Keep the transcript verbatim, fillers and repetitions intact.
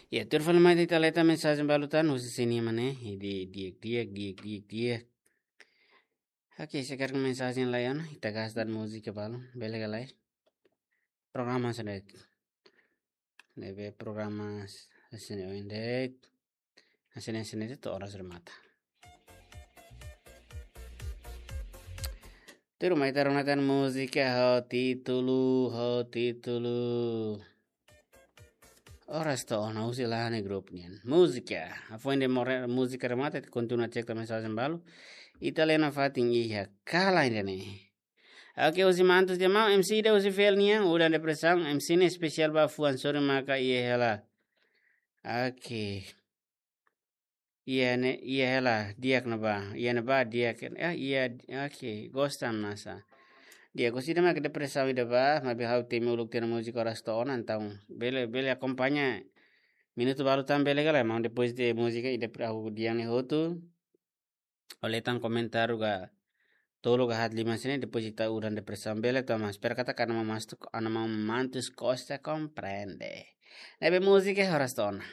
Ya, tuir fali mai ita leta mensajen balu tan, husi sini mana, di diak diak diak diak diak. Oke, sekarang mensajen lain, ita gas dan múzika balu, bele ka lae? Programa sendiri. Ne'ebé programa sini oin de'it. Sini sini itu orang sudah mata. Tuir mai ita rona tan múzika ho títulu, ho títulu. Oras to'o ona husi Lahane grupu nian. Múzika. Afoin de more múzika remata, ita kontinua cek tan mensajen balu. Ita lena fatin iha kala ainda ne'e. Oke, husi Mantus dia mau, M C de husi Fel nian, udan depresaun, M C ne'e espesiál ba fuan sorin maka iha hela. Oke. Iha ne'e, iha hela, di'ak ne'ebá, iha ne'ebá, di'ak, ah, iha, oke, gosta masa. Di'ak, gosta ida mak depresaun ida ba, maibé ha'u temi uluk tiha ona múzika oras to'o ona, entaun, bele, bele akompaña minutu balu tan bele ka lae, maun depois de múzika ida pra ha'u di'ak ne'e hotu. Ó leta tan komentáriu ka tolu ka haat lima sini, depois ita udan depresaun bele to'o mas. Pero katak Ana Maun Mantus, Ana Maun Mantus Costa komprende. Ne'ebé múzika oras to'o ona.